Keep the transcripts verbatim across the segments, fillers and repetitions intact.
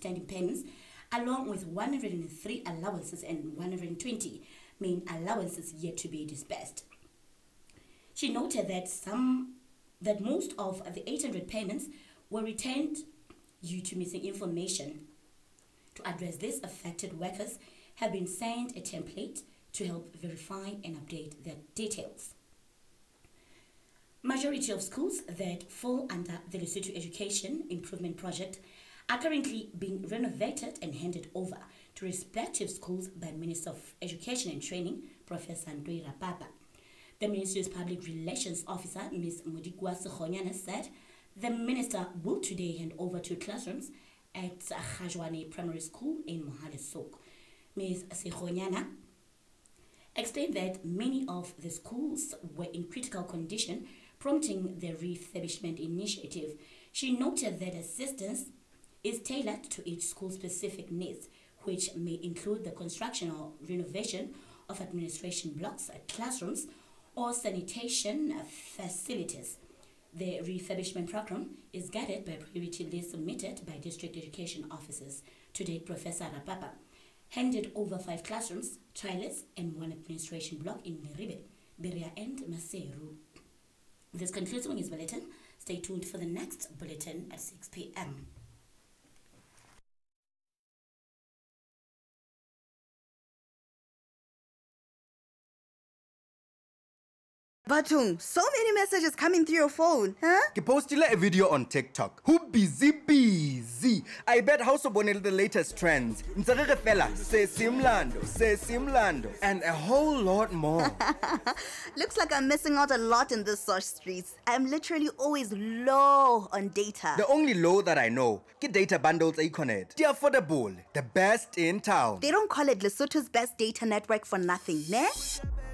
outstanding payments, along with one hundred three allowances and one hundred twenty main allowances yet to be disbursed. She noted that some that most of the eight hundred payments were retained due to missing information. To address this, affected workers have been sent a template to help verify and update their details. Majority of schools that fall under the Lesotho Education Improvement Project are currently being renovated and handed over to respective schools by Minister of Education and Training, Professor Ntoi Rapapa. The ministry's public relations officer, Miz Modikwa Sekhonyana, said the minister will today hand over two classrooms at Khajwane Primary School in Mohale's Hoek. Miz Sekhonyana explained that many of the schools were in critical condition, prompting the refurbishment initiative. She noted that assistance is tailored to each school's specific needs, which may include the construction or renovation of administration blocks, classrooms, or sanitation facilities. The refurbishment program is guided by priority lists submitted by district education officers. To date, Professor Rapapa handed over five classrooms, toilets, and one administration block in Leribe, Berea, and Maseru. This concludes the news bulletin. Stay tuned for the next bulletin at six p m Batung, so many messages coming through your phone, huh? Ke postile a video on TikTok. Who busy busy? I bet house bonele the latest trends. Ntse re re fela, se simlando, se simlando, and a whole lot more. Looks like I'm missing out a lot in the source streets. I'm literally always low on data. The only low that I know, ke data bundles Econet. They affordable, the best in town. They don't call it Lesotho's best data network for nothing, ne?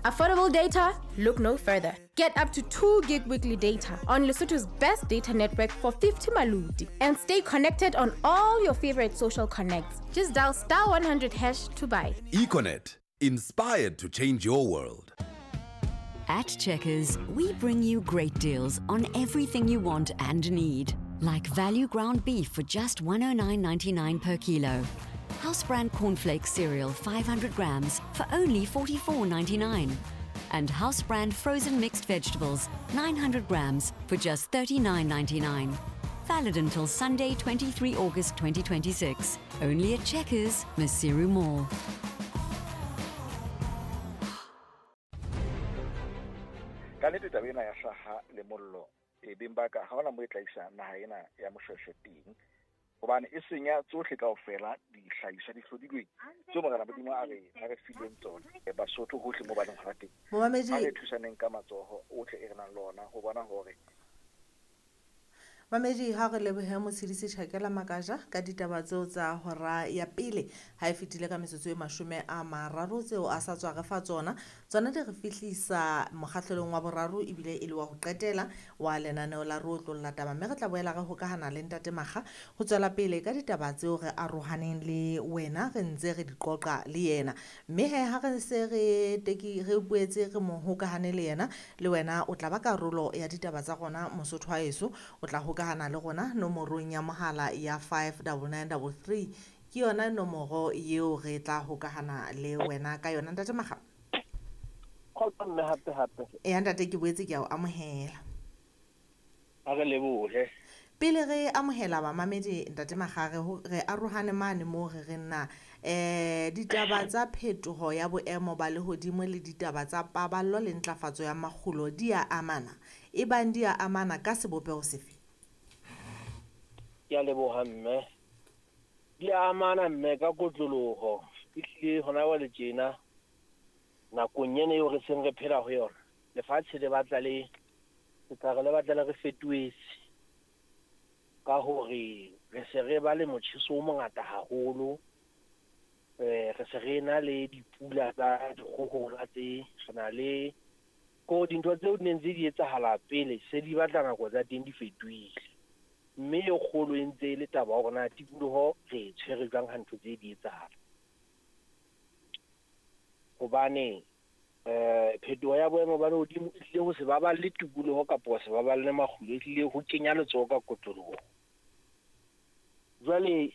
Affordable data? Look no further. Get up to two gig weekly data on Lesotho's best data network for fifty maluti and stay connected on all your favorite social connects. Just dial star one hundred hash to buy. Econet, inspired to change your world. At Checkers, we bring you great deals on everything you want and need. Like value ground beef for just one oh nine ninety-nine per kilo. House brand cornflakes cereal five hundred grams for only forty-four ninety-nine. And house brand frozen mixed vegetables nine hundred grams for just thirty-nine ninety-nine. Valid until Sunday, twenty-three August twenty twenty-six. Only at Checkers, Maseru Mall. Ka nnete taba ena ya hlaha le mollo e beng ba ka ha hona mo e tla isa naha ena ya Moshweshwe teng, hobane e senya tsohle kaofela dihlahiswa di hlodilweng tseo Morena Modimo a re a re fileng tsona Basotho hohle mo ba leng hona teng. Momamedi, a re thusaneng ka matsoho ohle e re nang le ona ho bona hore Mamedi, ha re lebohe Motshedisi Tjhakela Makaja ka ditaba tseo tsa hora ya pele ha e fetile ka metsotso e mashome a mararo tseo a sa tswa re fa tsona. Tsona di re fihlisa mokgahlelong wa boraro ebile e le wa ho qetela wa lenaneo la Re Otlolla Taba, mme re tla boela re hokahana le Ntate Makga ho tswela pele ka ditaba tseo re arohaneng le wena re ntse re di qoqa le yena. Mme he ha re se re teki re boetse re mo hokahane le yena, le wena o tla ba karolo ya ditaba tsa rona Mosotho wa heso, o tla hokahana le rona nomorong ya mohala ya five nine nine three three ke yona nomoro eo re tla hokahana le wena ka yona. Ntate Makga. Kgotso mme hape hape. E ntate ke boetse ke a o amohela. A re lebohe. Pele re amohela bamamedi Ntate Makga, re re arohane mane mo re re nna eh ditaba tsa phetoho ya boemo ba lehodimo le ditaba tsa paballo le ntlafatso ya makgulo di a amana. E bang di a amana ka sebopeho sefe? Ke a leboha mme. Di a amana mme ka kotloloho. Ehlile hona jwale tjena nakong ena eo re seng re phela ho yona, lefatshe le batla le ke tla re le batla le re fetohetse ka hore re se re ba le motjheso o mongata haholo, eh re se re na le dipula tsa dikgohola tse re na le ko dintho tseo di neng tse di etsahala pele se di batla nako tsa teng di fetohile. Mme e kgolo e ntse e le taba ya hore na tikoloho re e tshwere jwang ha ntho tse di etsahala. Hobane eh phetoho ya boemo ba lehodimo e tlile ho se baballe tikoloho kapa ho se baballe makgulo, e tlile ho kenya letsoho ka kotloloho. Jwale